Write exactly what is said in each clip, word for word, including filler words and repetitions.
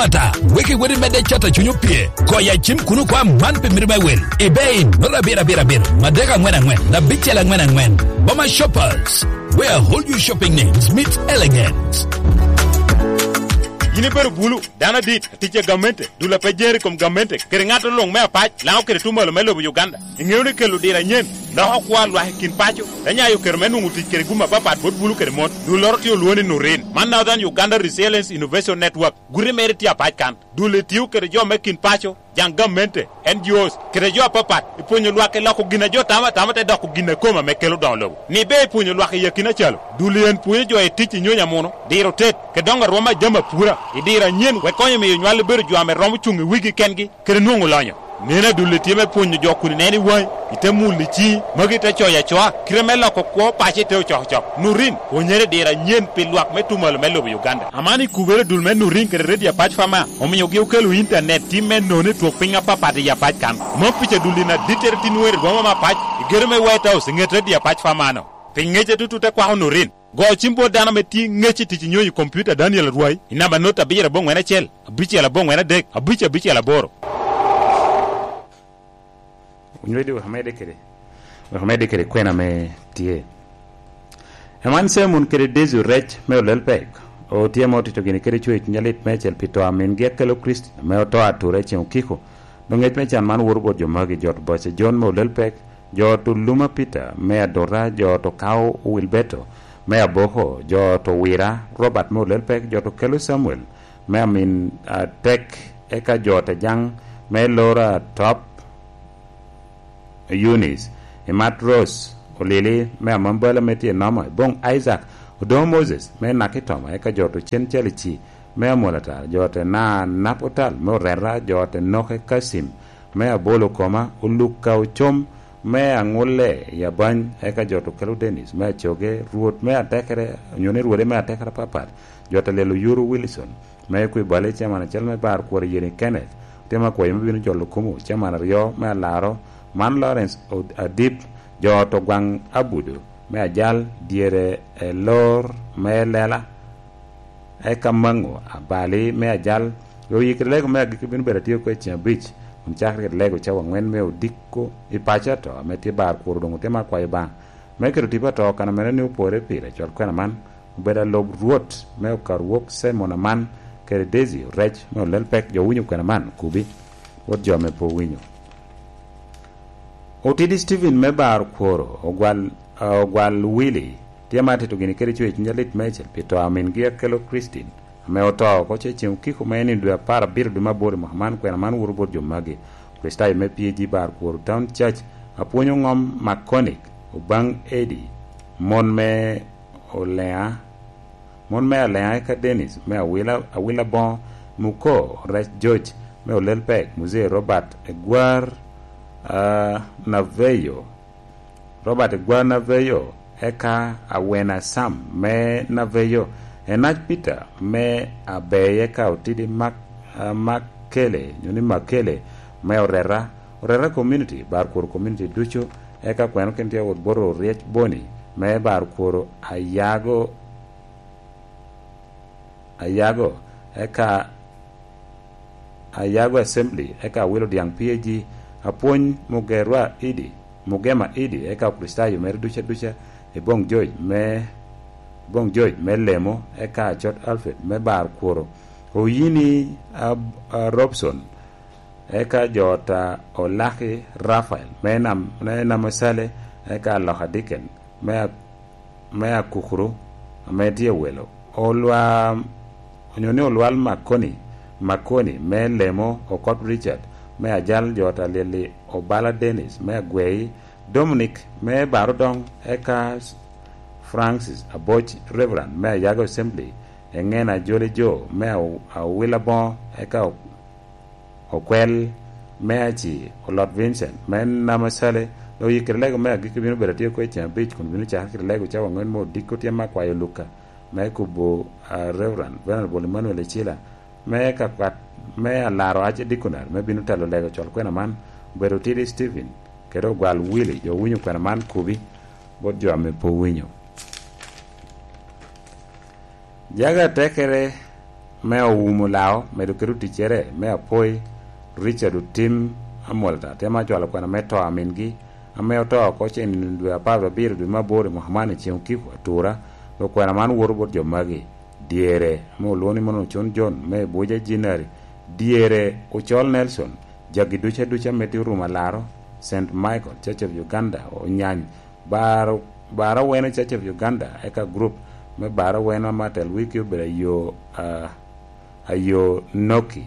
Ata, wek iwot imedde cat a Cuny Opye. Koya cim kun okwa man pi mito me wil. Ibe in, nota abiro abiro abiro, madek angwen angwen, abicel angwen angwen. Boma Shoppers, where whole you shopping needs meet elegance. Yin ibedo bulu, dano adit, atic a gamente, dul a pe jer i kom gamente, kede ŋat oluŋ me apac, Lango kede Tumalo me lobo Uganda. Iŋeo ni kelo diro anyen loko kwo a lwak i kin paco, te nyayo kero me nwoŋo tic kede gum apapat bot bulu kede mon. Dulloro tye olwoŋo ni Nurin. Man Northern Uganda Resilience Innovation Network. Guti mere tye apac kan. Dul etio kede jo me kin paco, jaŋ gamente, N G Os, kede jo apapat, i pwonyo lwak i loko gin a jo tamo atama te doko gin a kome ame kelo doŋo lobo. Ni be i pwonyo lwak i akina acalo, dul en pwonyo jo i tic i nyonyo amuno, diro tet, kede doŋo arwom a jami apura, i diro anyen, wek konyo miyo nywal bedo jo ame romo cuŋ i wigi kengi, kede nwoŋo lonyo. Neno adulli tye me pwonyo jo kun ineno i waŋi, ite mulo i ciŋi, magi te coyo acoa, kite me loko kwo paco ite ocokocok. Nurin, pwonyere i diro anyen pi lwak me Tumalo me lobo Uganda. Aman ikubere dul me Nurin kede Redi Apac Fama, omiogi okelo intanet tim me nono i twok piny apapat i Apac kan. Mom pica dulli na dittere tin wer i boma me Apac, i gedo me White House, i ŋet Redi Apac Fama-no. Pi ŋece tutu te kwako Nurin. Go cim bot dano ame tye ŋec i tic i nyonyo i kompiuta Daniel Arwai i namba not abiro aboŋwen acel, abicel aboŋwen adek, abic abicel aboro. Onywedi wek amedde kede, wek amedde kede kwena ame tye. Eman Cemon kede Dezu Rec me Olelpek, otye ame otito gini kede cwer cuny alit meicel pi to a mingi Akelo Christine ame oto ature i ceŋ okiko. Doŋ ŋec me can man woto bot jo magi, jo to Boca John me Olelpek, jo to Luma Peter me Adota, jo to Kao Wilberto me Aboko, jo to Wira Robert me Olelpek, jo to Kelo Samuel me Amin Atek, eka jo to Jaŋ me Lora Top Eunice, Imat Rose Olili me Amambala me tye Noma, Iboŋ Isaac Odoŋo Moses me Nakitoma, eka jo to Cen Calici me Amolatar, jo to Na Napotal me Orera, jo to Noke Kasim me Abolo Koma, Oluka Ocom me Aŋulle i Abany, eka jo to Kelo Dennis me Acoge, Rwot me Atekere, onyo ni Rwode me Atekere apapat, jo to Lelo Yuru Wilson me Kwibale, Chairman acel me Bar Kwor Yeni Kenneth, otye me akwayo me bino jolo kumo, Chairman aryo me Alaro, man Lawrence Od-, Adip, jo to Gwaŋ Abudu me Ajal, dyere e Lor me Lela, eka Maŋo Abali me Ajal, oyikere lego me agikki bino bedo atye oko i ceŋ abic, kun cakere kede lego cawa aŋwen me odiko i paco ato ame tye Bar Kwor doŋ otye me akwayo Obaŋa me keto tipo ato kan a mene ni opore pire, cwal kwena man, obedo alub Rwot me Okarwok Simon Aman kede Dezi Orec me Olelpek, jo winyo kwena man kubi, wot jo ame pe owinyo. Otidi Stephen me Bar Kworo, Ogwal, Ogwal Willy, tye ma atito gini kede cwer cuny alit meicel pi to a mingi Akelo Christine, ame oto oko ce ceŋ okiko me en i dwe apar abiro dwe me aboro i mwaka man, kwena man woto bot jo magi. Kricitayo me P A G Bar Kworo Town Church, apwonyo ŋom Makonic, Obaŋ Edi, mon me Oleŋa, mon me Aleŋa eka Dennis me Awila, Awila Boŋo, Muko Rec George me Olelpek, Muzee Robert Egwar, ah, Naveyo, Robert Egwar Naveyo, eka Awena Sam me Naveyo, Enac Peter me Abei, eka Otidi Mak-, ah, Makele, nyo ni Makele me Orera, Orera Community, Bar Kworo Community ducu, eka kweno kin tye wot bot Oryec Boni me Bar Kworo Ayago, Ayago, eka Ayago Assembly, eka Awilo Diaŋ P A G, apwony Mugerwa Idi, Mugema Idi, eka Okricitayo mere duca duca, Iboŋ George me, Iboŋ George me Lemo, eka Acot Alfred me Bar Kworo, Oyini Ab-, a Robson, eka jo ta Olaki Rafael me Nam-, me Namosale, eka Aloka Dicken me A-, me Akukuru ame tye welo, Olwa-, onyo ni Olwal Makoni, Makoni me Lemo, Okot Richard me Ajal, jo ta Lili Obala Dennis me Agwei, Dominic me Barodoŋ, eka Francis Aboc, Reverend me Ayago Assembly, Eŋena Joli Jo me Aw-, Awila Boŋo, eka Okwel me Aci, Olot Vincent me Namasale, oyikere lego me agikki bino bedo atye oko i ceŋ abic, kun bino cakere kede lego cawa aŋwen me odiko tyen me akwayo Luka, me kubo, ah, Reverend Venerable Emmanuel Ecila, me ka kwat me alaro Archdeaconry, me bino telo lego col kwena man, obedo Otidi Stephen, kede Ogwal Willy, jo owinyo kwena man kubi, bot jo ame pe owinyo. Jaga tekere me owumo lao, medo kede oticcere me apoi, Richard Otim Amolta, temo acwalo kwena me to a mingi, ame oto oko cen i dwe apar abiro dwe me aboro i mwaka man i ceng okiko atura. Dok kwena man woto bot jo magi: dyere, ame olwoŋo ni mono Ocon John me Buja Jinari, dyere Ocol Nelson, jagi duca duca me tye orumo alaro, Saint Michael, Church of Uganda, Onyany, Baro, Baro Weno, Church of Uganda, eka group me Baro Weno ame atel wigi obedo Ayo, ah, Ayo Noki,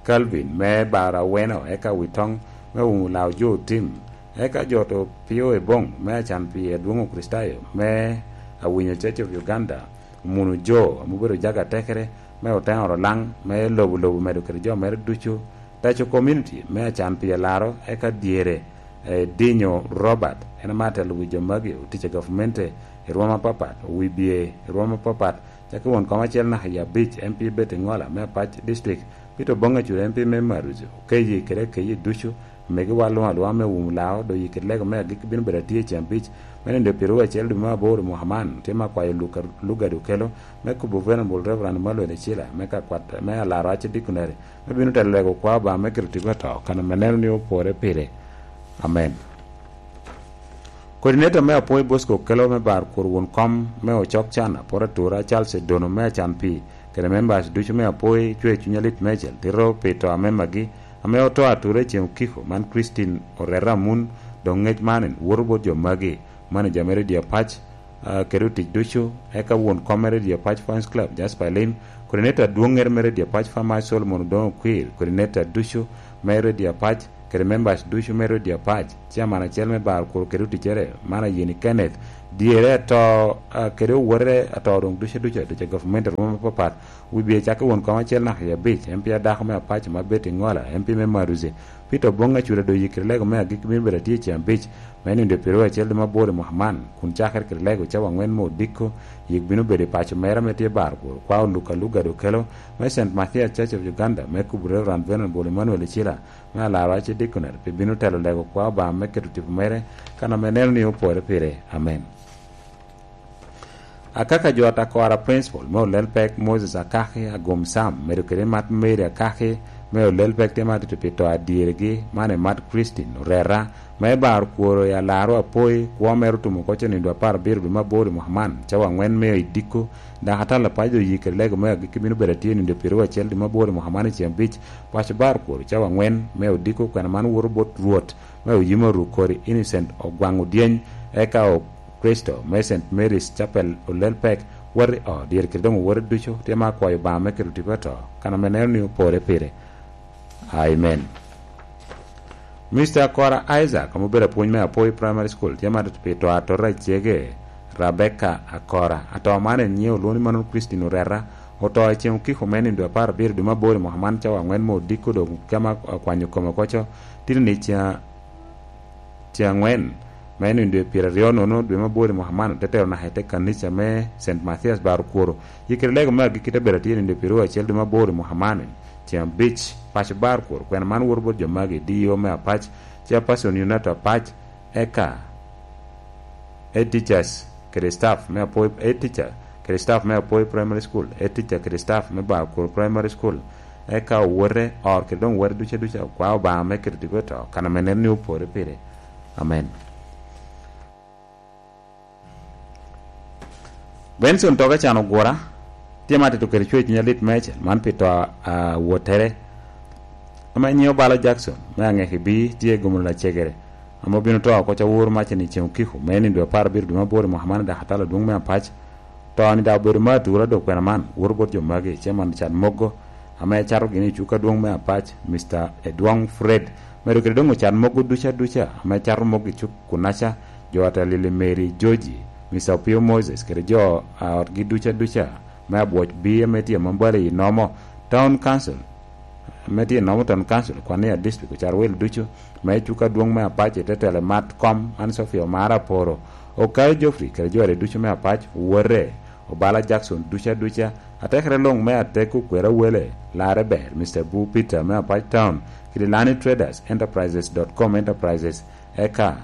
Calvin me Baro Aweno, eka Witoŋ me Wuŋ Olao Jo Otim, eka jo to Pio Ebong me Acan Pi Adwoŋ Okricitayo me Awinyo, Church of Uganda, Omuno Jo ame obedo jaga tekere me Oteŋo Rolaŋ me lobo lobo medo kede jo mere ducu, Taco Community me Acan Pi Alaro, eka dyere, eh, Dinyo Robert, en ame atelo wi jo magi, otic a gavmente i rwom apapat, owibye i rwom apapat, cakki won kom acel naka i abic, M P Betty Ŋola me Apac District, Peter Oboŋ Acur, M P me Maruzi, Okeyi kede Akeyi ducu, megi wa luŋ alwoŋa me Wum Lao, dok yikki lego me agikki bino bedo atye i ceng abic, me nino pyeraryo acel dwe me aboro i mwaka man, tye me akwayo Luka, Lugado Okelo, me kubo Venerable Reverend Emmanuel Ecila, me ka kwat, me alaro Archdeaconry, me bino telo lego kwa Obaŋa me keto tipo ato, kan ame neno ni opore pire. Amen. Coordinator me Apoi Bosco Okelo me bar kur won kom me Ocok Can, Aporo Atura, Charles Edono me Acan Pi, kede members ducu me Apoi, cwe cuny alit mecel, tito pi to a memagi, ame oto atura i ceng okiko, man Christine Orera Amun, dok ŋec man en woto bot jo magi, manager me Radio Apac, ah, kede otic ducu, eka won kom me Radio Apac Fans Club, Jasper Elim, coordinator adwoŋŋere me Radio Apac Farmers Solomon Odoŋo Okwir, coordinator ducu me Radio Apac, kede members ducu me Radio Apac, chairman acel me bar kur kede oticere, man Ayeni Kenneth, dyere ato, ah, kede owote ato doŋ ducu ducu, ducu a gavumenti i rwom apapat, wibye cakki won kom acel naka i abic, M P a dako me Apac ma Betty Ŋola, M P me Maruzi, Peter Oboŋ Acura doŋ yikki lego me agikki bino bedo atye i ceng abic, me nino dwe pyeraryo acel dwe me aboro i mwaka man, kun cakere kede lego cawa aŋwen me odiko, yik bino bedo i paco mere ame tye bar kur, kwa Oluka Lugado Okelo, me Saint Mathias Church of Uganda, me kubo Reverend Venerable Emmanuel Ecila, me alaro Archdeaconry, pi bino telo lego kwa Obaŋa me keto tipo mere, kan ame neno ni opore pire. Amen. Akaka jo Atakora Principal me Olel Pek Moses Akaki Agom Sam, medo kede Mat Mary Akaki me Olel Pek, tye ma atito pi to adyeregi, man i Mat Christine Orera, ma i bar kworo i alaro Apoi, kwo mere otumo oko cen i dwe apar abiro dwe me aboro i mwaka man, cawa aŋwen me i diko, dok atalo apac doŋ oyik kede lego me agikki bino bedo atye i nino dwe pyeraryo acel dwe me aboro i mwaka man i ceng abic, paco bar kworo cawa aŋwen me odiko, kwena man woto bot Rwot me oyim oruk kodi Innocent Ogwaŋ Odyeny, eka o Kristo me Saint Mary's Chapel Olel Pek, wot i ot, dyere kede doŋ owote ducu, tye ma akwayo Obaŋa me keto tipo ato, kan ame neno ni opore pire. Amen. Mister Kora Isaac, ame obedo apwony me Apoi Primary School, tye ma pi to atora i cege, Rebecca Akora. Ato man en nyiŋe olwoŋo ni Manon Christine Orera, oto i ceng okiko me nino dwe apar abiro dwe me aboro i mwaka man cawa aŋwen me odiko doŋ kema akwanyo kome koco, titini ca Ceng aŋwen, me nino dwe pyeraryo nono dwe me aboro i mwaka man, te tero naka i te kanica me Saint Mathias Bar Okworo. Yikere lego me agikki te bedo atye nino dwe pyeraryo acel dwe me aboro i mwaka man, ceng abic, paco Bar Okworo. Kwena man woto bot jo magi: D E O me Apac, Chairperson Yunato Apac, eka head teachers kede staff me Apoi, head teacher kede staff me Apoi Primary School, head teacher kede staff me Bar Okworo Primary School, eka owote, ot kede doŋ owote duca duca, kwa Obaŋa me keto tipo i to, kan ame neno ni opore pire. Amen. Benson Toke can ogura, tye ma atito kede cwer cuny alit mecel, man pi to a, a wottere, ame nyiŋe Obalo Jackson, me Aŋekibi, tye i gomolo lacegere, ame obino to oko caworo macen i ceng okiko, me nino dwe apar abiro dwe me aboro i mwaka man i dakatala adwoŋ me Apac. To-ni daŋ obedo me atura dok kwena man, woto bot jo magi, Chairman Richard Moggo, ame cato gini i cuk adwoŋ me Apac, Mister Edwong Fred, medo kede doŋ ocat mogo duca duca, ame cato mogo i cuk kunaca, jo atalili Mary Joji, Mister Opio Moses, kede jo a otgi duca duca, me Abwoc B ame tye Mambale i Nomo Town Council, ame tye i Nomo Town Council, Kwania District, ocat wel ducu, me cuk adwoŋ me Apac i te telo mat kom, an Sofia Omara Aporo, Okayo Geoffrey, kede jo are ducu me Apac, Wore, Obala Jackson duca duca, atekere luŋ me Ateko Kwera Wele, Lare Ber, Mister Bu Peter me Apac Town, kede Lani Traders Enterprises dot com Enterprises, eka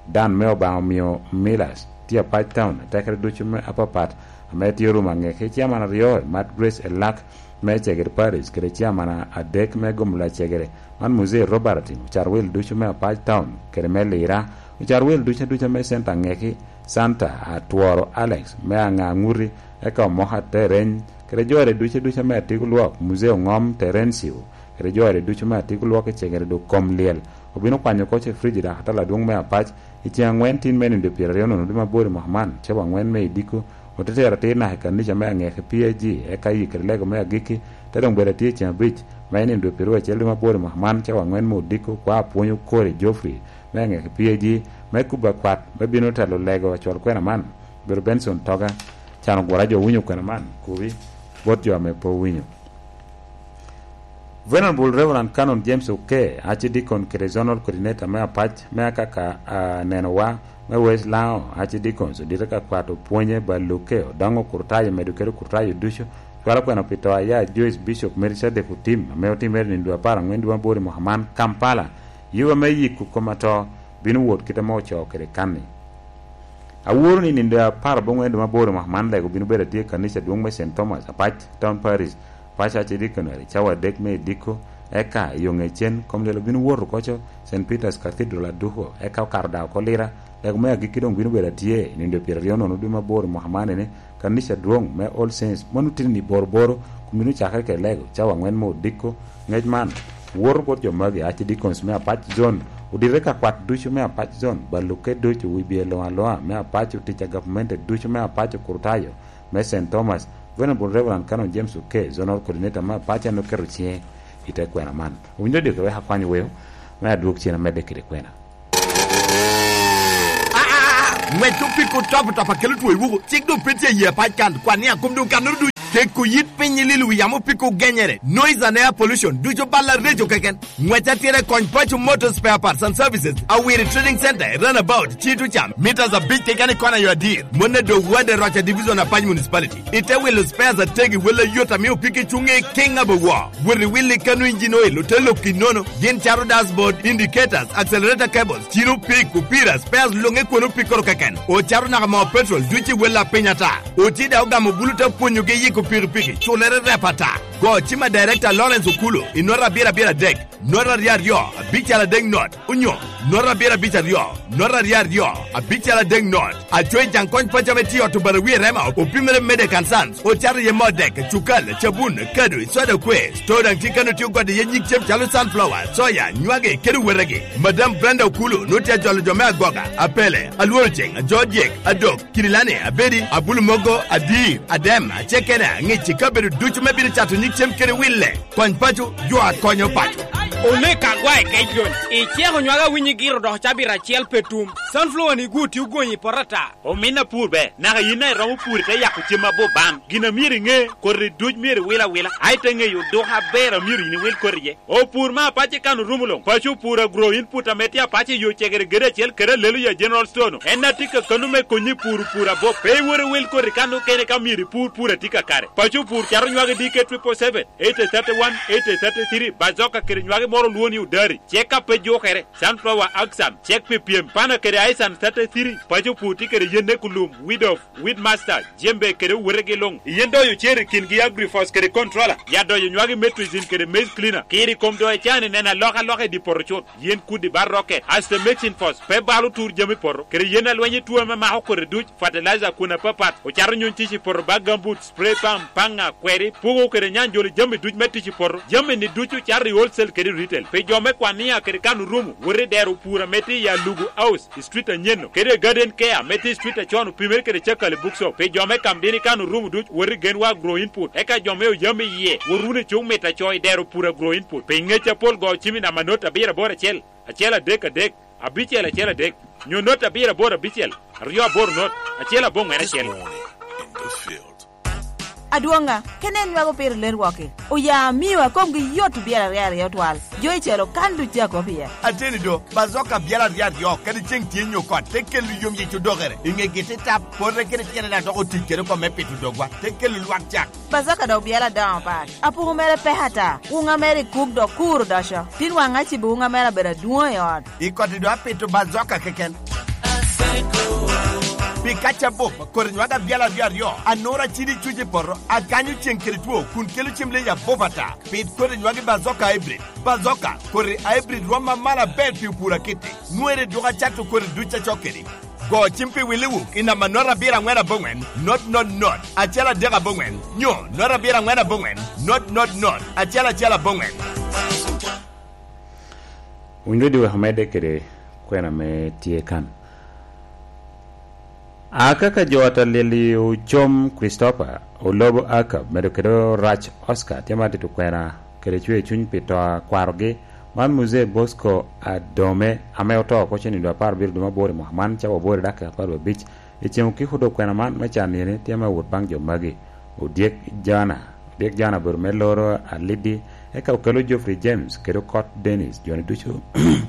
Dan me Obaŋa omio Millers tye Apac Town, atekere ducu me apapat, me tye orumo angeke, ciaman aryo, Mad Grace Elak me Cegere Parish, kede ciaman adek me Gomla Cegere, man Muzee Robert Ocato Wil ducu me Apac Town, kede me Lira, Ocato Wil ducu aduca me Center Angeki, Santa Atworo Alex me Aŋa Aŋuti, eka Omoka Tereny, kede jore ducu aduca me Atigo Lwok, Muzee Oŋom Terencio, kede jore ducu me Atigo Lwok i Cegere dok kom lyel. Obino kwanyo oko ce Frijida Atal adwoŋ me Apac, i ceŋ aŋwen tin me nindo pyeraryo nono dwe mabor i mwaka man, cawa aŋwen me idiko, ote tero atir naka i kanica me Aŋeke P A G, eka yikere lego me agikki, te doŋ bedo atye i ceŋ abic, me nindo pyeraryo acel dwe mabor i mwaka man, cawa aŋwen me odiko, kwa apwony Okori Geoffrey, me Aŋeke P A G, me kubo akwat, me bino telo lego acwal kwena man, obedo Benson Toga, can ogwura jo owinyo kwena man, kubi, bot jo ame pe owinyo. Venerable Reverend Canon James Oke, Archdeacon kede Zonal Coordinator me Apac me Akaka, a, nenowa me West Lango Archdeacons, odite ka kwat opwonye Baluke, Odoŋo Kurtayo, medo kede Kurtayo ducu, cwalo kwena pi to aya Joyce Bishop Melchizedek Otim, ame otimere nindo apar aŋwen dwe mabor i mwaka man, Kampala. Yuba me yiko kom ato bino wot kite ame ocoo kede kan-ni. Aworo ni nindo apar aboŋwen dwe mabor i mwaka man, lego bino bedo atye i kanica adwoŋ me Saint Thomas, Apac Town Parish, Apac Archdeaconry, cawa adek me idiko, eka i oŋecen, kom lyel obino wot oko co, Saint Peter's Cathedral aduko, eka okato daŋ oko Lira, lego me agikki doŋ bino bedo atye i nindo pyeraryo nono dwe mabor i mwaka man, ene, kanica adwoŋ me All Saints, mano titini boroboro, kun bino cakere kede lego, cawa aŋwen me odiko, Ŋec man woto bot jo magi, Archdeacons me Apac Zone, odite ka kwat ducu me Apac Zone, Baluke ducu, wi bye luŋ aluŋa me Apac, otic a gavumenti ducu me Apac, Okurtayo me Saint Thomas, Venerable Reverend Canon James Oke, Zonal Coordinator me Apac, en oketo ciŋe i te kwena man. Owinyo diki wek akwany weo, me adwog cen amedde kede kwena. Aa, ŋwec opiko top top a kelo two i wuku, cik doŋ pe tye i Apac kan, kwan ni akom doŋ kannoro ducu. Keko yit piny i lilo wi yamo opiko genyere, noise and air pollution, ducu bal areco keken. Ŋwec atira i Kony Paco Motor Spare Parts and Services, Awiri Trading Center, i Runabout, Cito Cam, meters abic keken i kona yo adir. Mone dog wade Roca Division, Apac Municipality. Ite wilo spares ategi, wel ayot, amio piki cuŋe i kiŋ abowo. Wot i wil i kano engine oil, ote lok i nono, gin cato dashboard, indicators, accelerator cables, cino pik, opira, spares luŋe kwon opikkoro keken. Ocato naka moo petrol, duc i wel a piny ata. Oti daŋ ogamo bulu te pwonyogi yiko pikipiki, culere rep ata. Go cim a Director Lawrence Okulo i nota abiro abiro adek, nota aryo aryo, abical adek not, onyo nota abiro abic aryo, nota aryo aryo, abical adek not. Acoyi Jaŋ Kony Paco ame tye i ot Obarawi i Rema, opimere Medek and Sons, ocato iye moo dek, cukal, cabun, kado, soda kwe. Store daŋ tye kano tye ogodo iye nyig cem calo sunflower, soya, nywagi, kede wetegi. Madam Brenda Okulu nwoŋo tye ajolo jo me agoga, apele, alworo ceŋ, ajo dyek, adok, kirilani, abedi, abulu mogo, adir, adem, acekena, ŋic i kabedo ducu me bino cato nyig cem kede wille. Kony paco, jo a konyo paco. Omego Agwae Kec John, iceko nywagi awinyi giro dok cabit acel pe tum. Sunflower-ni gwo tye ogonyi i poto ata. Omin apur ber, naka yin daŋ iromo pur ite yako cem aboban. Gin a myero iŋe, koti duc myero iwil awila, a ite ŋeyo odok aber a myero yin iwil koti iye. Opur me apac i kan orumo luŋ. Paco opur Agro Input ame tye apac i yo cegere gedo acel kede Aleluya General Store-nu. En a tye kakano me konyi i puro pur abop. Pe iwot iwil koti kan okene ka myero ipur pur a tye kakare. Paco opur cato nywagi D K triple seven, eighty thirty-one, eighty thirty-three, Bazoka kede nywagi moro olwoŋo ni Odari. Cek ka pe jukere, Sunflower Axan, cek pi pyem, Pana kede Aisan thirty-three, paco pur tye kede yen Ekulum, Weed Off, Weed Master, Jembe kede owotegi luŋ. Yen doyo cer i kingi Agrifos kede Controller, ya doyo nywagi Metrizin kede Maize Cleaner. Kiri kom doyo can i neno alokaloka i dye poto cut. Yen kudi bar rocket, Aster Mixing Force, pe balo tur jami poto, kede yen alweny i tuo ame mako koti duc, fertilizer kun apapat, ocato nyuny tic i poto bag gamboots, spray pump, paŋa, kweri, pugo kede nyanjoli jami duc me tic i poto. Jami-ni ducu cato i wholesale kede retail. Pi jo me Kwania kede kan orumo, wot i dero pur ame tye i Alugu House, i street anyen-nu, kede Garden Care ame tye i street acon opimere kede Cakali Bookshop. Pi jo me Kamdini kan orumo duc, wot i Genwa Agro Input. Eka jo me Oyam iye, wot wunu i cuk mita co i dero pur Agro Input. Pi ŋec apol go cim i namba not abiro aboro acel, acel adek adek, abicel acel adek, nyo not abiro aboro abicel, aryo aboro not, acel aboŋwen acel. Adwoŋa, kene en nwago pire ler wok-ki. Oya amio a komgi yot obyelo aryo aryo twal. Jo i calo kan duc a kop iye. Ateni do, bazoka byelo aryo aryo, kadi ceŋ tye nyo kot, te kelo yom yec odokere. I ŋegi te tap, pote kede tyene daŋ dok otic kede oko me pito dogwa, te kelo lwak cak. Bazoka dok byelo adoŋo pat. Apuku mere pek ata. Wuŋa mere i kub dok kur odoco. Tin waŋ acibo wuŋa mere abedo adwoŋ i ot. I koti do apito bazoka keken. Pi kac abup, kodi nywag abyal aryo aryo, anura cidi cuc i poto, akanyo ceŋ kede two, kun kelo cem leyi abup ata. Pid kodi nywagi bazoka hybrid. Bazoka, kodi hybrid rwom amalo aber pi opur akiti. Nwere dwoko acato kodi duc acok kedi. Go cim pi Willi Wuk i namba not abiro aŋwen aboŋwen, not not not, acel adek aboŋwen, nyo not abiro aŋwen aboŋwen, not not not, acel acel aboŋwen. Winy redio wek omedde kede kwena ame tye kan. Akaka jo a Talili ocom Christopher, olobo Akab, medo kede orac Oscar, tye ma tito kwena kede cwer cuny pi to a kwarogi, man Muzee Bosco Adome, ame oto oko cen i dwe apar abiro dwe me aboro i mwaka man, cawa aboro i dakika apar wiye abic. I cen okiko dok kwena man me can eni, tye me wot baŋ jo magi. Odyek Jona, Odyek Jona obedo me loro Alidi, eka okelo Geoffrey James kede Okot Dennis, joni ducu,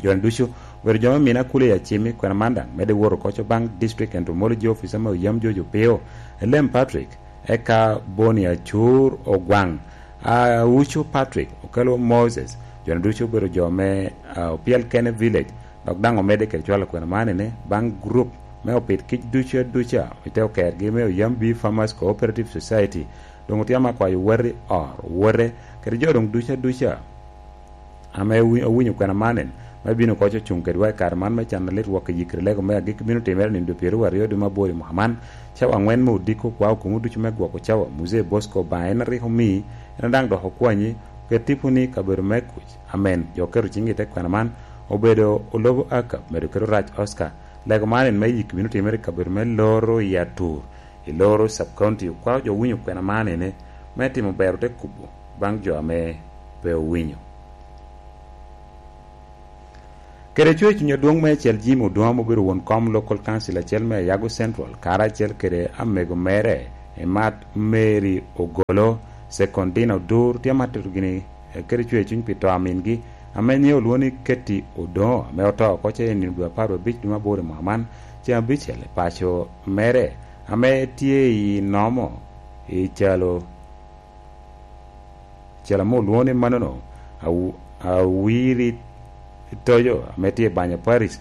joni ducu obedo jo me mine akuli i Acimi. Kwena man daŋ medde wot oko co baŋ District Entomology Officer me Oyam Jojo Pio, Elem Patrick, eka Boni Acur Ogwaŋ, Aucu Patrick, okelo Moses, joni ducu obedo jo me, ah, Opiel Kene Village, dok daŋ omedde kede cwalo kwena man ene baŋ group me opit kic ducu aduca i te okergi me Oyam Bee Farmers Cooperative Society. Doŋ otye ame akwayo woti or, wote, kede jo doŋ ducu aduca ame wi-, owinyo kwena man en, me bino koc ocuŋ kedwa i kare man me can alit wok i yikri lego me agikki bino timere nino dwe pyeraryo aryo dwe me aboro i mwaka man, cawa aŋwen me odiko. Kwao komu ducu me gwoko cawa, Muzee Bosco Obaŋa en a rik omii, en a daŋ dok okwanyi, ket tiponi i kabedo me kuc. Amen. Jo oketo ciŋgi i te kwena man, obedo olobo Akab, medo kede orac Oscar. Lego man en me yik bino timere i kabedo me loro i Atur, i loro sub county. Okwao jo winyo kwena man ene, me timo bero te kubo baŋ jo ame pe owinyo. Kede cwer cuny adwoŋ me acel Jimmy Odwom obedo won kom Local Council acel me Ayago Central, karacel kede amego mere, Emat Mary Ogolo, Secondina Odur, tye amatito gini, eh, kede cwer cuny pi to a mingi, ame nyiŋe olwoŋo ni Ketty Odongo, ame oto oko ce i nino dwe apar wiye abic dwe me aboro i mwaka man, ceŋ abicel i paco mere, ame tye i Nomo, i calo Cel ame olwoŋo ni manono, aw-, awiri toyo ame tye i Banya Paris.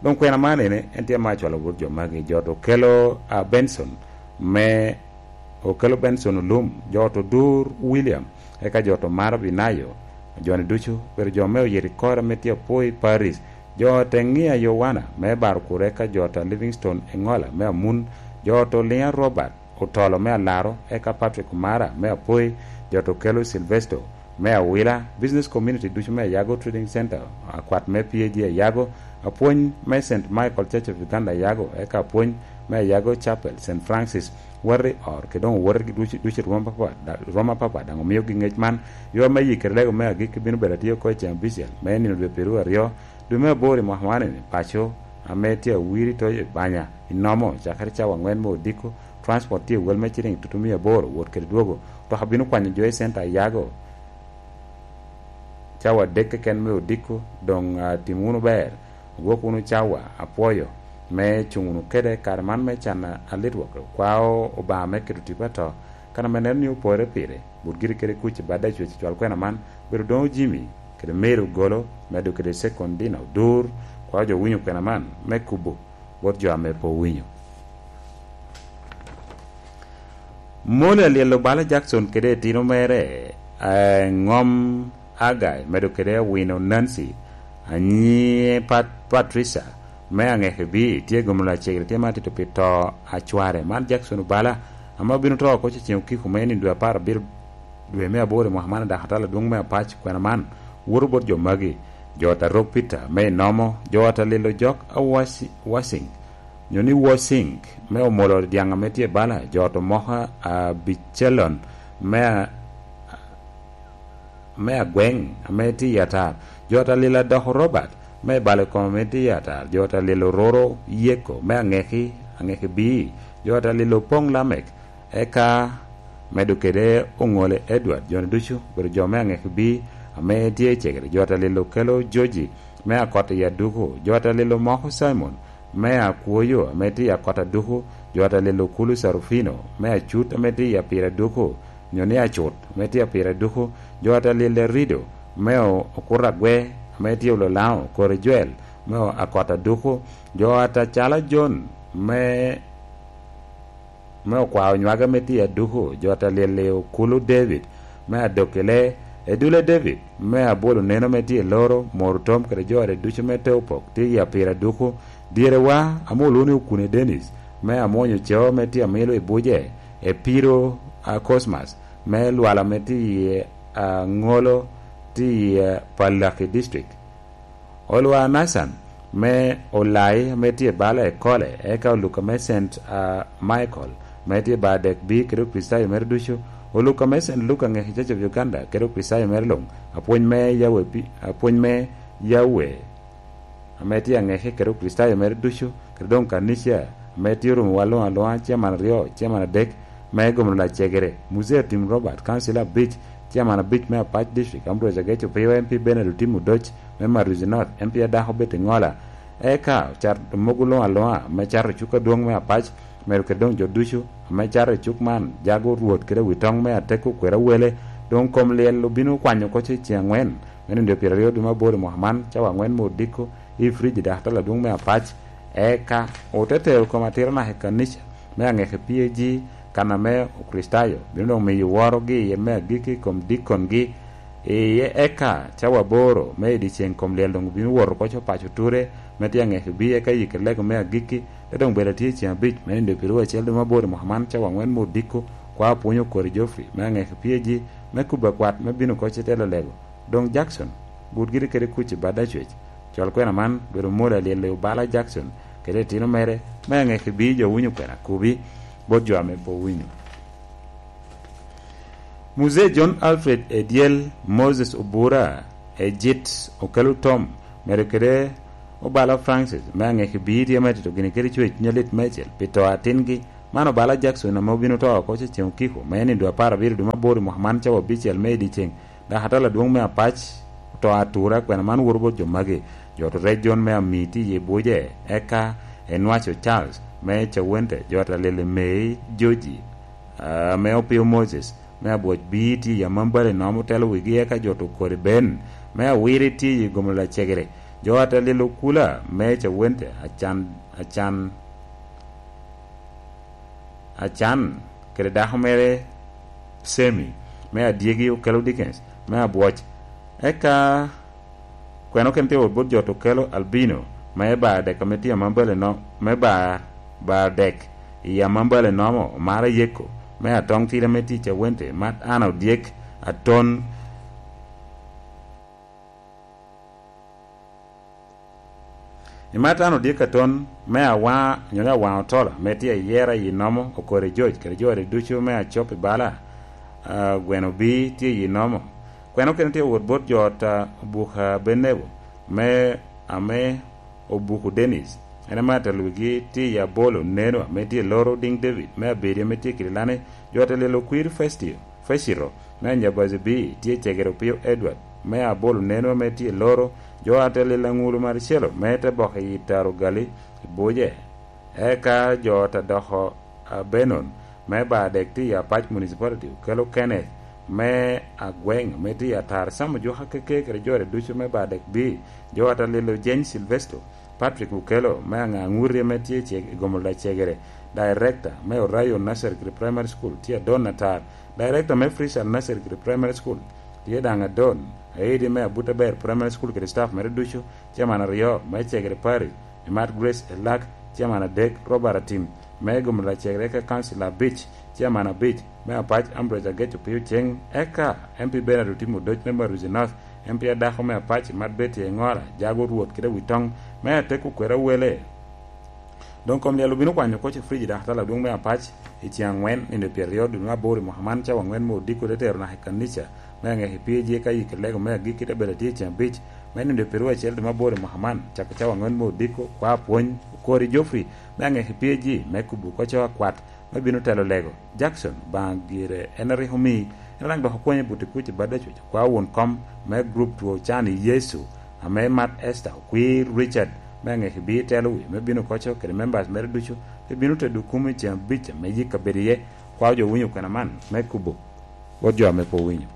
Doŋ kwena man ene, en tye ame acwalo bot jo magi, jo to okelo, a, Benson me, okelo Benson Olum, jo to Dur William, eka jo to Mara Binayo, joni ducu, obedo jo me oyito i kore ame tye apoi Paris, jo to Eŋia Yowana me Baro Kur, eka jo to Livingstone Eŋola me Amun, jo to Liŋa Robert, Otolo me Alaro, eka Patrick Omara me Apoi, jo to Kelo Silvesto me Awila, business community ducu me Ayago Trading Center, akwat me P A G Ayago, apwony me Saint Michael Church of Uganda Ayago, eka apwony me Ayago Chapel, Saint Francis, wati or, kede doŋ owote ducu, ducu i rwom apapa, da-, rwom apapa, daŋ omiogi ŋec man. Yo ame yikere lego me agikki bino bedo atye oko i ceŋ abicel, me nino dwe pyeraryo, dwe me aboro i mwaka man eni, paco, ame tye awiri toyo i Banya, i Nomo, cakere cawa aŋwen me odiko, Transport tye i wel me ciliŋ tutumia aboro, wot kede dwogo. Otoka bino kwanyo jo i centa Ayago cawa adek keken me odiko, doŋ, ah, tim wunu ber, ogwok wunu cawa, apwoyo, me cuŋ wunu kede kare man me can a-, alit wok. Okwao Obaŋa me keto tipo ato, kan ame neno ni opore pire, but giri kede kuc i bad Acwec cwal kwena man, bedo doŋo Jimmy, kede Mary Ogolo, medo kede Secondina Odur, kwao jo winyo kwena man, me kubo bot jo ame pe owinyo. Moli alyelo bala Jackson kede etino mere, eh, Ŋom Agai, medo kede Awino Nancy, anyi Pat-, Patricia, me Aŋeke B, tye gomno lacegere, tye ma tito pi to a cware. Man Jackson Obala, ame obino to oko ceŋ okiko me nino dwe apar abiro dwe me aboro i mwaka man, dok atala adwoŋ me apac kwena man woto bot jo magi, jo ta Rok Peter me Inomo, jo ta Lilo Jok a Wasi-, Wasing, nyo ni Wasing, me Omolo Dyaŋ ame tye bala, jo ta Moka a Bicalon me a-, me Agweŋ ame tye i Atar, jo ta Lilo Adoko Robert me Balo Kom ame tye i Atar, jo ta Lilo Roro Yeko me Aŋeki, Aŋeki B, jo ta Lilo Opoŋ Lamek, eka medo kede Oŋole Edward, joni ducu obedo jo me Aŋeki B ame tye i cegere, jo ta Lilo Okelo Joji me Akot i Aduku, jo ta Lilo Moko Simon me Akwoyo ame tye i Akot Aduku, jo ta Lilo Kulu Sarufino me Acut ame tye i Apir Aduku, nyo ni Acut ame tye i Apir Aduku, jo ta Lilo Rido me O-, Okuto Agwe ame tye i Ololaŋo, Kori Joel me O-, Akot Aduku, jo ta Cala John me me okwao nywage me tye aduku, jo ata lyel i Okulu David me Adokile, Edule David me Abolo Neno me tye i Loro, Moro Tom kede jo ata ducu me Teopok tye i Apiro Aduku, Dyerewa ame olwoŋo ni Okune Dennis me Amwonyo Ceo me tye amilo i Buje, Epiro a Cosmas me Lwala me tye i Aŋolo tye i Palaki District. Olwa Nathan me Olai ame tye bala i Kole, eka Oluka me Saint, ah, Michael ame tye ba dek bi kede Okricitayo mere ducu, Oluka me Saint Luke aŋeki Church of Uganda kede Okricitayo mere luŋ, apwony me Yahweh pi-, apwony me Yahweh ame tye aŋeki kede Okricitayo mere ducu, kede doŋ kanica ame tye orumo wa luŋ aluŋa, ciaman aryo, ciaman adek, me gomo lacegere, Muzee Tim Robert, Council abic, ciaman abic me Apac District, Ambrose Ageco Piyo, M P Bernard Otim Odoc me Maruzi North, M P adako Betty Ngola, eka ocat mogo luŋ aluŋa me cato cuk adwoŋ me Apac, medo kede doŋ jo ducu ame cato i cuk man, jago Rwot kede wi toŋ me Ateko Kwera Wele, doŋ kom lyel obino kwanyo oko i ceŋ angwen, me nino pyeraryo dwe me aboro i mwaka man, cawa angwen me odiko, i Frijidakta adwoŋ me Apac, eka ote tero kom atira naka i kanica me aŋeke P A G, kan ame Okricitayo bino doŋ miyo worogi iye me agikki i kom dikongi. Iye eka cawa aboro me i dyeceŋ kom lyel doŋ obino wot oko i paco Ture, me tye aŋeke B, eka yikki lego me agikki, te doŋ bedo atye i ceŋ abic me nino pyeraryo acel dwe me aboro i mwaka man, cawa angwen me odiko, kwa apwonyo Okori Geoffrey me aŋeke P A G, me kubo akwat me bino oko i telo lego. Doŋ Jackson, but giri kede kuc i bad Acwec. Col kwena man, bedo mwola lyel i Obala Jackson kede itino mere, me aŋeke B jo winyo kwena kubi bot jo ame pe owinyo. Muzee John Alfred Edyel, Moses Obura, Ejit Okelo Tom, medo kede Obala Francis, me aŋeke B tye me tito gini kede Cwec Nyalit Mecel pi to atingi. Man Obala Jackson ame obino to oko i ceŋ okiko, me nino dwe apar abiro dwe me aboro i mwaka man cawa abicel me i dyeceŋ, dok atala adwoŋ me Apac oto atura, kwena man woto bot jo magi. Jo oto rec John me Ami tye i Buje, eka Enwaco Charles me Cawente, jo ata lele Mei Joji, ame Opio Moses me Abwoc B tye i Amambale Nom otelo wigi, eka jo oto Kodi Ben me Awiri tye i Gomo Lacegere, jo ata lele Okula me Cawente, Acan, Acan, Acan kede dako mere Semi me Adyegi Okelo Dickens me Abwoc, eka kwena okene tye wot bot jo oto Okelo Albino me Bar Dek ame tye Amambale Nom, me Bar, Bar Dek i Amambale Nomo, Omara Yeko me Atoŋ Tira me tye i Cawente, Mat Ana Odyek Aton. I Mat Ana Odyek Aton me Awaŋa, onyo ni Awaŋa Otola, ame tye i Yera i Nomo, Okori Joc, kede jo adi ducu me Acop i Bala, ah, Gweno B tye i Nomo. Kwena okene tye wot bot jo ot, ah, Obuka Benebo, me, ame Obuku Dennis, en ame atelo wigi tye i Abolo Neno, ame tye i Loro Diŋ David, me Abedi, ame tye i Kirilani, jo ata lelo Okwir Festio, Fecito, me Anyabazi B tye i Cegere Opio Edward, me Abolo Neno, ame tye i Loro, jo ata lelo Aŋulu Marcelo, me te boko i Taro Gali, i Buje, eka jo ata doko Abenon, me Bar Dek tye i Apac Municipality, Okelo Kenneth, me Agweŋ, ame tye i Atar, Sam Ojuka Keke, kede jo ata ducu me Bar Dek B, jo ata lelo Jane Sylvester, Patrick Okello, me Aŋa Aŋurri ame tye i Gomo Lacegere, Director me Orayo Nursery kede Primary School tye Adon Atar, Director me Fresh Al Nursery kede Primary School tye daŋ Adon, Aidi me Abuta Ber Primary School kede staff mere ducu, Chairman aryo me Cegere Parish, Imat Grace Elak, Chairman adek Robert Atim, me Gomo Lacegere, eka Council abic, Chairman abic, me Apac Ambrose Ageco Pio Ceng, eka M P Bernard Otim Odoc me Maruzi North, M P adako me Apac Imat Betty Engora, Jago Rwot kede Witoŋ, me Ateko Kwera Wele. Doŋ kom lyel obino kwanyo oko i Frijidakta adwoŋ me Apac i ceŋ angwen, nino pyeraryo dwe me aboro i mwaka man, cawa angwen me odiko te tero naka i kanica me aŋeki P A G, eka yikki lego me agikki te bedo atye i ceŋ abic me nino pyeraryo acel dwe me aboro i mwaka man, cako cawa angwen me odiko, kwa apwony, Okori Geoffrey me aŋeki P A G, me kubo oko akwat me bino telo lego. Jackson, Obaŋa gire en a rik omi, en a daŋ dok okwonya i buti kuc i bad Acwec, kwa won kom me gurup two can i Yecu, ame Mat Esther, Okwir Richard, me aŋeki B telo wi, me bino oko kede members mere ducu, te bino tedo kum i ceŋ abic ame yikka bedo iye, kwa jo winyo kwena man me kubo bot jo ame pe owinyo.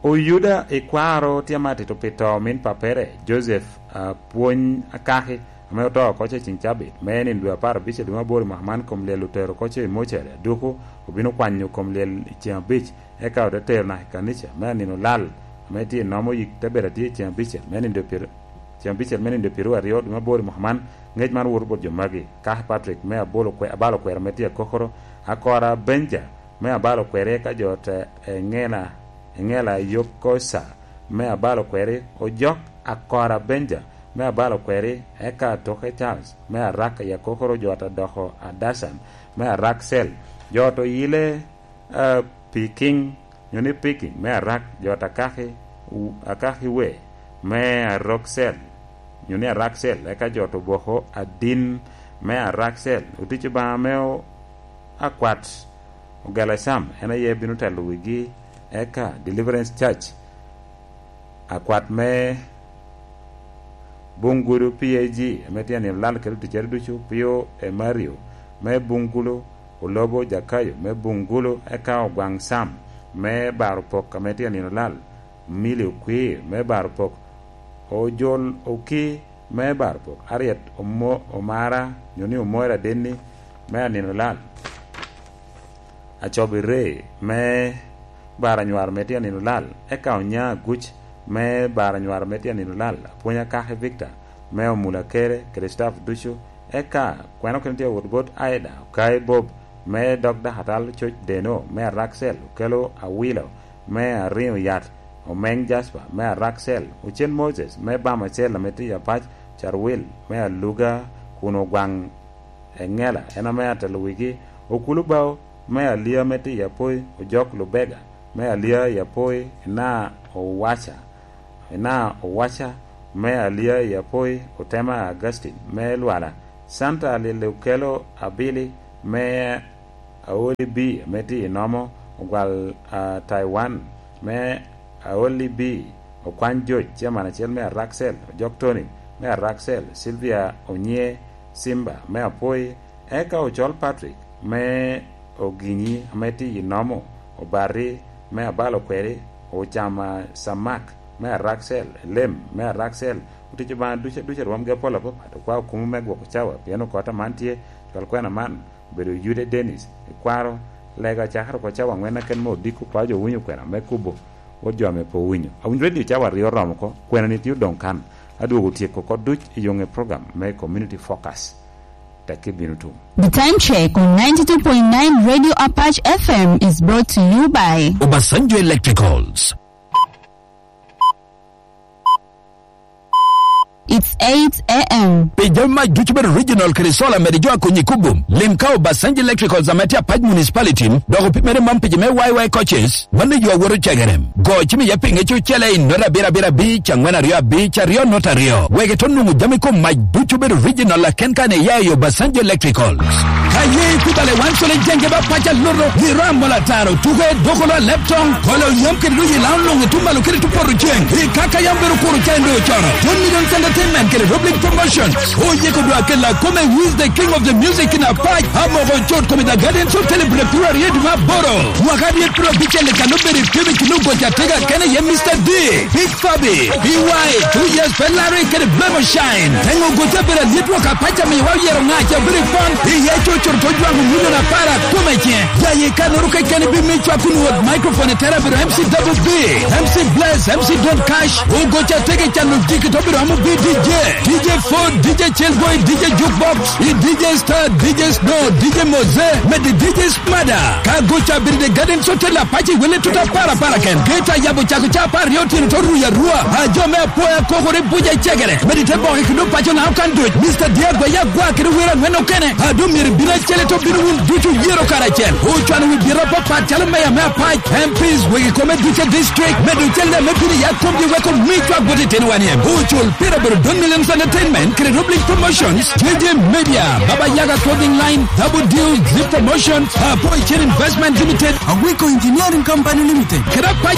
Oyuda Ikwaro tye amatito pi to omin pappere, Joseph Apwony Akaki, ame oto oko ce i ceŋ cabit, me nino dwe apar abicel dwe me aboro i mwaka man, kom lyel otero oko ce i mocere, aduku obino kwanyo kom lyel i ceŋ abic, eka ote tero naka i kanica me anino lal, ame tye i nomo yik te bedo atye i ceŋ abicel me nino dwe pyer-, ceŋ abicel me nino dwe pyeraryo dwe me aboro i mwaka man. Ngec man woto bot jo magi: Kaki Patrick me abalo kwe-, abalo kwero ame tye akokoro, Akora Benja me abalo kweri, eka jo te Eŋela, Eŋela Yokosa me abalo kweri, Ojok Akora Benja me abalo kweri, eka Toke Charles me arak i akokoro, jo ata doko Adasan me arak cel, jo to yile, a, Piking, nyo ni Piking me arak, jo ata Kaki, u-, Akaki we me arok cel, nyo ni arak cel, eka jo to boko Adin me arak cel, otic Obaŋa me o-, akwat Ogala Cam, en aye bino telo wigi, eka Deliverance Church, akwat me Bungulu P A G, ame tye anino lal kede oticcere ducu, Pio Emario me Bungulu, Olobo Jakayo me Bungulu, eka Ogwaŋ Sam me Baro Pok, ame tye anino lal, Mili Okwir me Baro Pok, Ojol Oki me Baro Pok, Ariet Omo-, Omara, nyo ni Omora Denni, me anino lal, Acobi Ree me Baro Anywar me tye anino lal, eka Onya Aguc me Baro Anywar me tye anino lal, Apwonya Kaki Victor me Omula Kere kede staff ducu, eka kwena okene tye awot bot Aida Okai Bob me dok Dakatal Coc Deno me Araksel, Okelo Awilo me Ariŋo Yat, Omeŋ Jasper me Araksel, Ocen Moses me Bam Acel ame tye i Apac, Carwil me Aluga kun Ogwaŋ Eŋela en ame atelo wigi, Okulu Bao me Alia ame tye i Apoi, Ojok Lubega me Alia i Apoi, Ina Owaca, Ina Owaca me Alia i Apoi, Otema Augustine me Lwala, Santa Lili Okelo Abili me Aoli B ame tye i Nomo, Ogwal, a, Taiwan me Aoli B, Okwany Joc, chairman acel me Araksel, Ojok Tony me Araksel, Sylvia Onyie Simba me Apoi, eka Ocol Patrick me Oginyi ame tye i Nomo, Obati me Abalo Kweri, Ocama Samak me Araksel, Elem me Araksel, otic Obaŋa duc aduc a rwomgi apol apapat, okwao kumo me gwoko cawa, pien okot aman tye, cwal kwena man, obedo Yude Dennis, ikwaro, lega cakere oko cawa aŋwen aken me odiko, kwao jo winyo kwena me kubo, wot jo ame pe owinyo. Awinyo redio cawa aryo oromo oko, kwenani tye odoŋ kan. Adwogo tyeko oko duc i yoŋe program me Community Focus. Tekki bino tum. The time check on ninety-two point nine Radio Apache F M is brought to you by Obasanjo Electricals. It's eight a m. Pi jami mac ducu bedo regional kede solar, mede jo akonyi kubo. Lim ka Obasanjo Electricals ame tye Apac Municipality, dok opimere man pi jo me Y Y coaches, mano yo awoto cegere. Go cim iye pi ŋec ocele i nota abiro abiro abic, angwen aryo abic, aryo nota aryo. Wek ito nwoŋo jami kom mac ducu bedo regional aken kan iya i Obasanjo Electricals. Ka ye ikubale wan cole jenge ba paca luto, giro amola taro, tuke, dokolo a leptong, kolo yam kede doji lao luŋ i tum malo kede tum poto ceng. I kaka yam bedo kuro ca endo cono. One Million Entertainment kede Rob League Promotion. Oyeko dwa kela kome, who is the king of the music in Apac. Amoko cot kome the Guardians of Celebrate February eight ma boro. Mwaka dyet piro abicel i kano bedo i pime kino goca tega kene ye Mister D. Big Fabi, B Y, two years pe Larry kede Blemo Shine. Teŋo goca bedo alyet wok apac amiwa oyero ŋac a bedo i pon. Iye cocoro to jwaŋo milion apar akome ce. Jaye kanoro kekeni bi mi cwak kun wot microphone i tera bedo M C Double B, M C Bless, M C Don Cash. Ogoca tege cano jiki to bedo amo bi D J. D J Ford, D J Chelboy, D J Jukebox, i D J Star, D J Snow, D J Moze, mede D J Mada, ka goca bedo the Garden Hotel Apache wele tuta para para ken. Geta yabo cako ca apar aryo otyeno to ruya rua. A jo me apoya kokore buja cegere. Medi te boke kendo paco na okan doc. Mister Diego ya gwa kede wera ngwen okene. A do myero bino acele to bino wun ducu yero karacel. Ocwano wi biro papat calo meya me Apac, M Ps, wegi kome duce district. Medo cel ne me bino ya komgi weko mi cwak bot itino wan iem. Ocul pira bedo Don Millions Entertainment, kede Roblink Promotions, J J Media, Baba Yaga Clothing Line, Double Deal, Zip Promotions, Apoy Chain Investment Limited, Awiko Engineering Company Limited. Kede Apac